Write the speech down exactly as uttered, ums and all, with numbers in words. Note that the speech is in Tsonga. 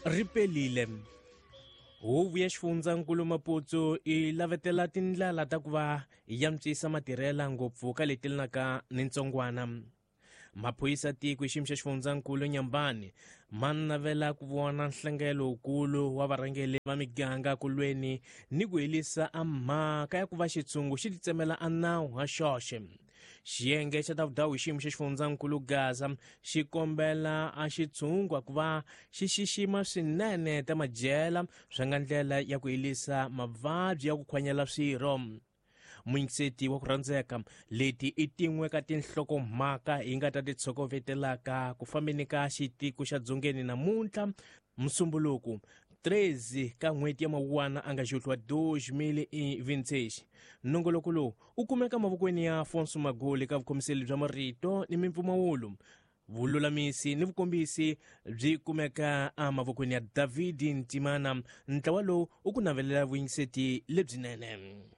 Ri pelile. Huvo ya xifundzankulu Maputo yi lavetela tindlela ta ku va yi antswisa matirhela ngopfu ka leti lenaka ni ntsongwana. Maphorisa tiko hi xiyimo xa xifundzankulu Nyambani ma navela ku vona nhlangelo wukulu wa varhangeri va miganga ku lweni ni ku herisa a mhaka ya ku va xitshungu xi titsemela a nawu ha xoxe. Xiyenge xa ta vudawu hi xiyimo xa xifundzankulu Gaza xi kombela a xitshungu ku va xi xixima swinene ta madyela swi nga ndlela ya ku herisa mavabyi ya ku khwanyela swirho. Muyingiseti wa ku rhandzeka, leti i tin'we ka tinhlokomhaka hi nga ta ti tshokovetelaka ku fambeni ka xitiko xa dzongeni namuntlha Musumbuluku treze ka n'hweti ya Mawuwana a nga xuhliwa dois mil e vinte e seis. Nongoloko lowu u kumeka mavokweni ya Afonso Magoli ka vukhomiseli bya marito ni mimpfumawulo. Vululamisi ni vukombisi byi kumeka emavokweni ya David Ntimana. Ntlawa lowu u ku navelela vuyingiseti lebyinene.